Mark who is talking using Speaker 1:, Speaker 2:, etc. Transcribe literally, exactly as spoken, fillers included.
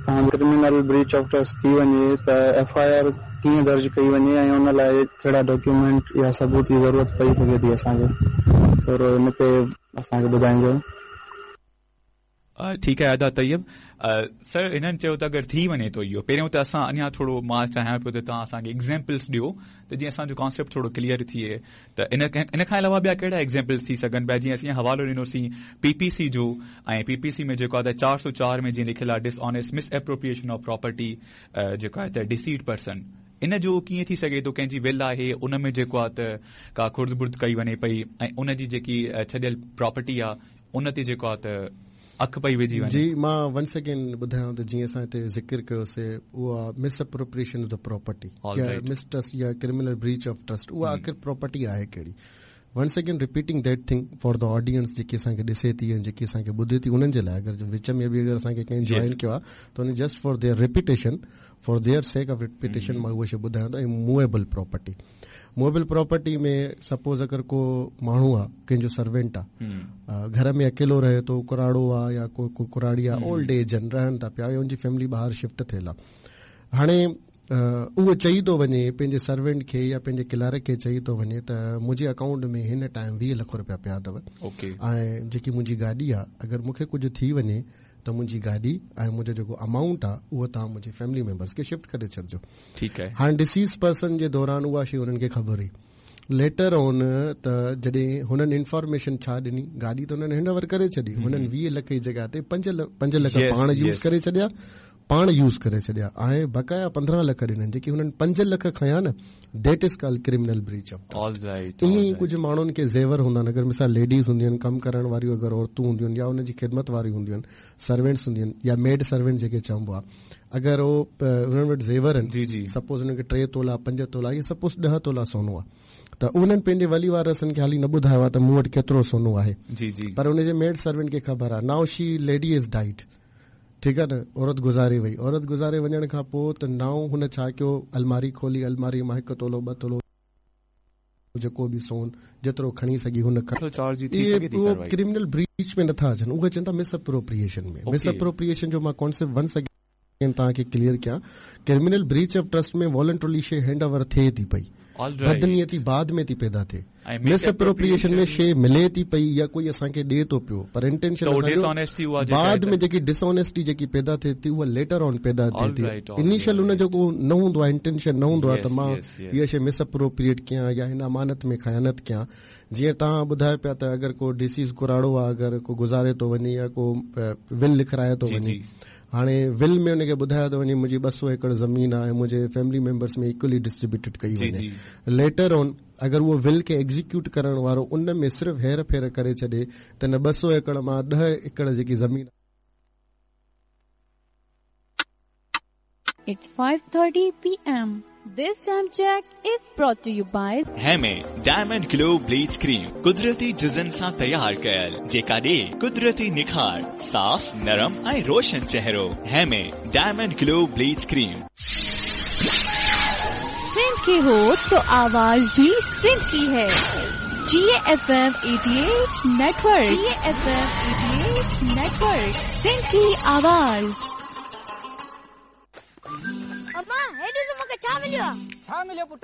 Speaker 1: توهان criminal breach of trust ٿي وڃي ته ايف I R ڪيئن درج ڪئي وڃي ۽ ان لاءِ ڪهڙا ڊاڪيومينٽ يا ثبوت جي ضرورت پئي سگهي ٿي اسان کي، ٿورو ان تي اسان کي ٻڌائجو.
Speaker 2: ٺيڪ آهي ادا طيب سر، هنن چيو ته اگر ٿي وڃي ٿو اهو، پهريون ته اسان اڃا ٿورو مان چاهيان پيو ته توهان اسان کي ايگزامپلس ڏيو ته جيئن اسان جو ڪانسيپٽ ٿورو ڪليئر ٿئي، ته ان ان کان علاوه ٻيا ڪهڙا ايگزامپلس ٿي سگهن پيا؟ جيئن اسين حوالو ڏنوسين پي پي سي جو، ۽ پي پي سي ۾ جيڪو آهي ته چار سؤ چار ۾ جيئن لکيل آهي dishonest misappropriation of property جيڪو آهي ته ڊسيٽ پرسن، ان جو ڪيئن ٿي سگهي ٿو؟ ڪنهن جي ول آهي ان ۾ جيڪو آهي ته ڪا خرد برد ڪئي وڃي پئي ۽ ان جي جيڪي ڇڏيل پراپرٽي آهي ان تي جيڪو آهي ته اک پئي وجهي وڃي.
Speaker 3: جي مان ونس اگين ٻڌايان ته جيئن اسان هتي ذڪر ڪيوسي اها مس اپروپريئيشن آف the property يا مس ٽرسٽ يا ڪرمنل بريچ آف ٽرسٽ، اها آخر پراپرٽي آهي ڪهڙي؟ Once again repeating that thing for the audience جيڪي اسان کي ڏسي ٿي ۽ جيڪي اسان کي ٻڌي ٿي انهن جي لاءِ، اگر وچ ۾ به اگر اسان کي ڪنهن جوائن ڪيو آهي ته ان just for their repetition, for their sake of repetition مان اها شيءِ ٻڌايان ٿو. ۽ Movable property, movable property ۾ suppose اگر ڪو ماڻهو آهي، ڪنهن جو سروينٽ آهي، گهر ۾ اڪيلو رهي ٿو، ڪراڙو آهي يا ڪو ڪو ڪراڙي آهي، اولڊ ايج آهن، رهن ٿا پيا يا ان جي فيملي ٻاهر شفٽ ٿيل آهي. هاڻي اهو چئي ٿو وڃي پنهنجي سروينٽ کي يا پنهنجي ڪلارڪ کي چئي ٿو وڃي ته منهنجي اڪائونٽ ۾ هن ٽائيم ويهه لک رپيا پيا اٿو ۽ جيڪي منهنجي گاڏي آهي اگر مون کي ڪجهه ٿي وڃي ته منهنجي گاڏي ۽ منهنجو جيڪو امائونٽ آهي اهو توهان منهنجي فيملي ميمبرس کي شفٽ ڪري ڇڏجو.
Speaker 2: ٺيڪ آهي.
Speaker 3: هاڻي ڊسيز پرسن جي دوران اها شيءِ هنن کي خبر هئي. ليٽر آن ته جڏهن هنن انفارميشن ڇا ڏني، گاڏي ته هنن هينڊ اوور ڪري ڇڏي، هنن ويهه لک جي جڳهه تي پنج پنج لک پاڻ يوز ڪري ڇڏيا، پاڻ يوز ڪري ڇڏيا ۽ بقايا پندرهن لک ڏنن. جيڪي هنن پنج لک کنيا نه، that is called criminal breach of trust. ائين ئي ڪجهه ماڻهن کي زيور هوندا آهن، اگر مثال ليڊيز هونديون آهن، ڪم ڪرڻ واريون اگر عورتون هونديون آهن يا ان جي خدمت واريون هونديون آهن، سروينٽس هونديون آهن يا ميڊ سروينٽ جيڪي چئبو آهي، اگر اهو هنن وٽ زيور آهن، سپوز هنن کي ٽي تولا پنج تولا يا سپوز ڏهه تولا سونو آهي، ته انهن پنهنجي ولي وارثن کي حالي نه ٻڌايو آهي ته مون وٽ ڪيترو سونو آهي، پر ان جي ميڊ سروينٽ کي خبر آهي. نائو شي ليڊي از ڊائيڊ، ٺيڪ آهي نه، عورت گذاري وئي. عورت گذاري وڃڻ کان پوءِ ته نائو هن ڇا ڪيو، الماري کولي، الماري مان هڪ تولو ٻه تولو جيڪو به سون جيترو کڻي سگهي هن اهو ڪرمنل بريچ ۾ نٿا اچن، اهي چون ٿا مس اپروپريئيشن ۾. مس اپروپريئيشن جو مان ڪانسيپٽ ونس اگين توهان کي ڪليئر ڪيان. Criminal breach of trust ۾ voluntarily شيءِ هينڊ اوور ٿئي ٿي پئي، بدنيتي بعد ۾ ٿي پيدا ٿئي. مس اپروپريئيشن ۾ شيءِ ملي ٿي پئي يا ڪوئي اسان کي ڏئي ٿو پيو، پر انٽينشن بعد ۾ جيڪي ڊسآنيسٽي جيڪي پيدا ٿئي ٿي اها ليٽر آن پيدا ٿئي ٿي. انيشل ان جو ڪو نه هوندو آهي، انٽينشن نه هوندو آهي ته مان اها شيءِ مس اپروپريئيٽ ڪيان يا هن امانت ۾ خيانت ڪيان. جيئن توهان ٻڌايو پيا ته اگر ڪو ڊسيز ڪراڙو آهي، اگر ڪو گذاري ٿو وڃي يا ڪو ول لکرائي ٿو وڃي، هاڻي ول ۾ هن کي ٻڌايو ٿو وڃي منهنجي ٻه سؤ ايڪڙ زمين آهي ۽ منهنجي فيملي ميمبرس ۾ ايڪولي ڊسٽريبيوٽيڊ ڪئي وڃي. ليٽر آن اگر اهو ول کي ايگزيڪيوٽ ڪرڻ وارو ان ۾ صرف هير ڦير ڪري ڇڏي ته نه ٻه سؤ ايڪڙ مان ڏهه ايڪڙ جيڪي زمين.
Speaker 4: It's five thirty P M. This time check is brought to you by
Speaker 5: Heme Diamond Glow Bleach Cream, कुदरती जुज़न सां तयार कयल, जेका ॾे कुदरती निखार, साफ़, नरम ऐं रोशन चेहरो। Heme Diamond Glow Bleach Cream.
Speaker 4: Sindh की हो तो आवाज भी सिंध की है। G F M eighty-eight Network, G F M eighty-eight Network, Sindh की आवाज।
Speaker 6: अम्मा, हेॾो मूंखे छा मिलियो आहे?
Speaker 7: छा मिलियो पुट?